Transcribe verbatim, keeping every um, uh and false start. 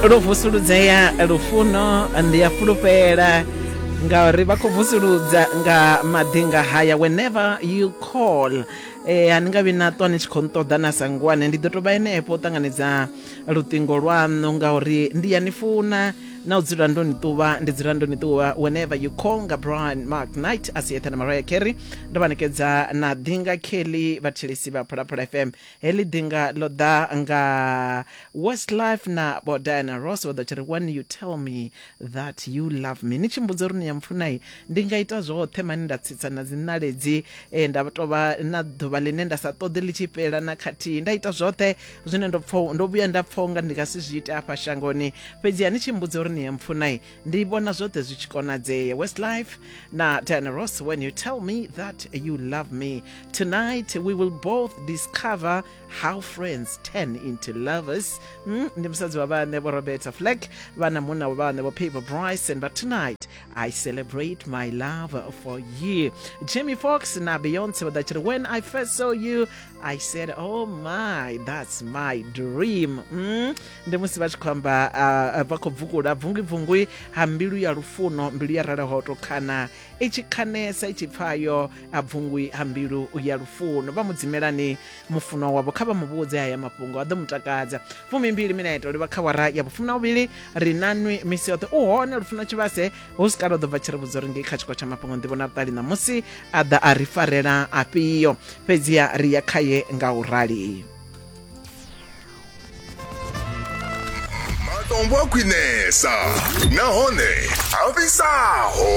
Lo vusuludzea lufuno ndi ya fulufhela ngauri vha khou vusuludza nga maḓinga haya. Whenever you call, eh ani nga vhi na ṱwa ni tshi khou nṱoḓa na sangwane, ndi ḓo tou vha henefho u ṱanganedza luṱingo lwaṋu ngauri ndi ya ni funa na u dzula ndo ni ṱuvha, ndi dzula ndo ni ṱuvha. Whenever you call nga Brian Mark Knight a si eṱhe na Mariah Carey. Ndo vha nekedza na ḓinga Kelly vhathelesi vha Phalaphala F M. Heḽi ḓinga ḽo ḓa nga Westlife na vho Diana Ross, vha ḓo tshi ri when you tell me that you love me. Ni tshi mbudza uri ni ya mpfunai, ndi nga ita zwoṱhe mani, nda tsitsa na dziṋaledzi, eh, nda tovha na ḓuvha ḽine nda sa ṱoḓi ḽi tshi fhela na khathihi, nda ita zwoṱhe zwine ndo pfha ndo vhuya nda pfha unga ndi nga si zwi ite afha shangoni. Fhedzi ni tshi mbudza uri ni ya mpfunai, ndi vhona zwoṱhe zwi tshi konadzea. Westlife na Diana Ross, when you tell me that you love me. Tonight we will both discover how friends turn into lovers. mm, ndi musadzi wa vhaṋe vho Roberta Flack vha na munna wa vhaṋe vho Peter Bryson, but tonight I celebrate my love for you. Jamie Foxx na Beyonce vha ḓa tshi ri when I first saw you I said, oh my, that's my dream. mm, ndi musi vha tshi khou amba uh, vha khou bvukula bvungwi-bvungwi ha mbilu ya lufuno, mbilu ya ralaho to khana i tshi khanesa i tshi pfayo a bvungwi ha mbilu ya lufuno. Vha mudzimelani mufunwa wavho, kha vha mu vhudze haya mafhungo a ḓo mu takadza. Fumimbili mineto livha kha wara ya vhufumi na vhuvhili, ri nanwi misi yoṱhe u hone lufuno tshivhase hu si kale u ḓo bva tshi ri vhudza uri ngei kha tshiko tsha mafhungo nḓivho na vhuṱali ṋamusi a ḓa a ri farela afhio, fhedziha ri ya khaye nga u rali. Matombo a khwinesa nahone a fhisaho.